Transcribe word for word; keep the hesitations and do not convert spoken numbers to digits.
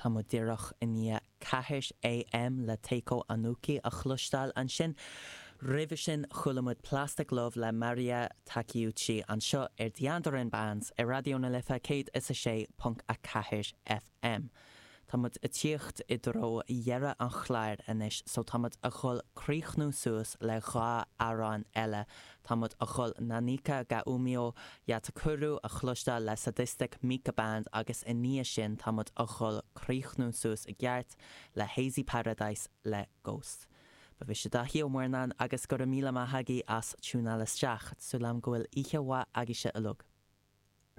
Tá muid díreach i ndiaidh ceathair AM le Taeko Ohnuki a chloisteáil ansin. Roimhe sin chuala muid Plastic Love le Maria Takeuchi anseo ar The Andoran Bands ar Raidió na Life céad is a sé ponc a ceathair FM. Tá muid ag tíocht i dtreo dheireadh an chláir anois, so tá muid a dhul críochnú suas le dhá amhrán eile. Tá muid a dhul Nanika ga Umio Yatakuru a chloisteáil le Sadistic Mika Band agus i ndiaidh sin tá muid a dhul críochnú suas i gceart le Hazy Paradise le Ghost. Ba mhise Daithí Ó Murnáin agus go raibh míle maith agaibh as tiúnáil isteach, súil agam go bhfuil oíche mhaith agaibhse uilig.